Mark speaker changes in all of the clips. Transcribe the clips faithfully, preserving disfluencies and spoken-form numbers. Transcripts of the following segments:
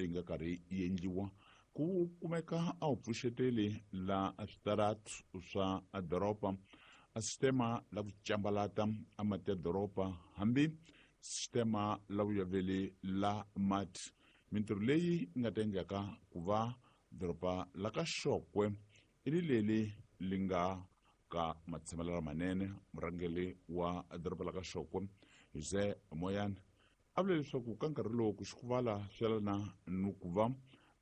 Speaker 1: leyi nga karhi yi endliwa ku kumeka a wu pfuxeteli la switaratu swa doroba a sistema la ku cambalata a mati ya doroba hambi sistema la vuyaveli la mati. Mintirho leyi nga ta endlaka ku va doroba la ka Xokwe i ri leli li nga ka matshamelo lamanene. Murhangeri wa doroba la ka Xokwe Jose Moyane a vula leswaku ka nkarhi lowu ku xikuvala swi yelana ni ku va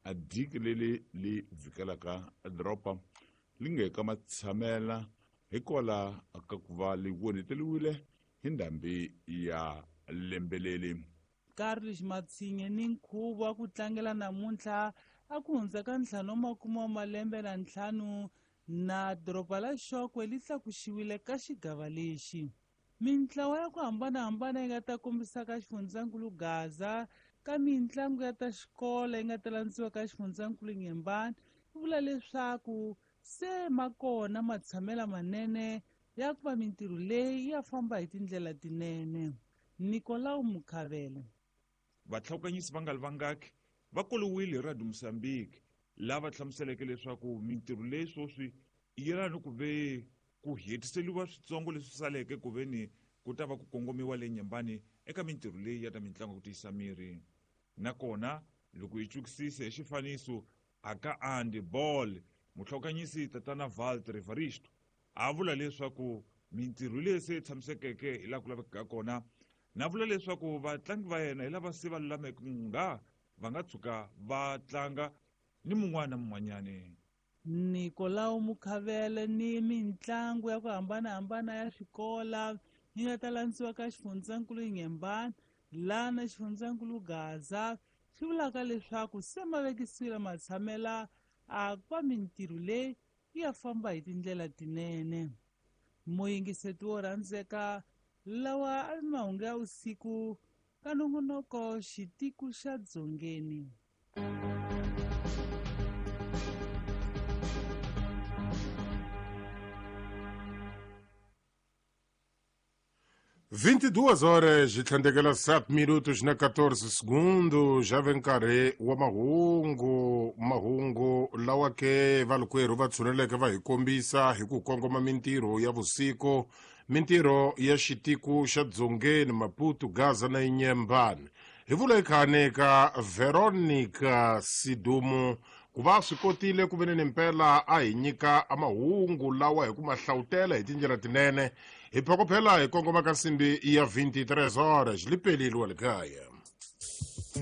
Speaker 1: a diki leli li vhikelaka doroba li nge ka matshamela hikwalaho ka ku va li onheteriwile hi ndhambi ya lembeleli.
Speaker 2: Carlos Matsinhe ni nkhuvo wa ku tlangela namuntlha a ku hundza ka ntlhanu wa makume wa malembe na ntlhanu na doroba la Xokwe li tlakuxiwile ka xigava lexi. Mintlawa ya ku hambanahambana yi nga ta kombisa ka xifundzankulu Gaza ka mintlangu ya ta xikolo yi nga ta landziwa ka xifundzankulu Nyembani yi vula leswaku se ma kona matshamela manene ya ku va mintirho leyi ya famba hi tindlela tinene. Nicolau Mukhavele.
Speaker 3: Vatlhawukanyisi va nga li vangaki va koliwile hi Radio Mozambique lava hlamuseleke leswaku mintirho leyi sweswi yi yelana ni ku ve ku hetiseliwa switsongo leswi saleke ku ve ni ku ta va ku kongomiwa le Nyembani eka mintirho leyi ya ta mitlangu ku tiyisa miri. Nakona loko hi cukisise hi xifaniso aka Andy Ball mutlhawukanyisi tatana Walter Evaristo a vula leswaku mintirho leyi se tshamisekeke hi laha ku lavekaka kona, na vula leswaku vatlangi va yena hi lava se va lulameke nga va nga tshuka va tlanga ni mun'wana na mun'wanyani.
Speaker 2: Nicolau Mukhavele ni mintlangu ya ku hambanahambana ya swikola yi nga ta landziwa ka xifundzankulu Nyembani laha na xifundzankulu Gaza swi vulaka leswaku se ma vekisiwile matshamela a ku va mintirho leyi yi ya famba hi tindlela tinene. Muyingiseti wo rhandzeka lawa a mahungu ya usiku ka nongonoko xitiku xa Dzongeni.
Speaker 4: vinte e duas horas e tlhandekela sete minutos na quatorze segundos. Já vem nkarhi wa mahungu, mahungu lawa ke valukwerhu va tshuneleke va hi kombisa hi ku kongoma mintirho ya vusiku, mintirho ya xitiku xa Dzongeni, Maputo, Gaza na Inyembani. Hi vula ekhane ka Veronica Sidumo ku va swi kotile ku ve ni mpela a hi nyika mahungu lawa hi ku ma hlawutela hi tindlela tinene. Hi phokophela hi kongoma ka nsimbi ya vinte e três horas lipelile wa le kaya.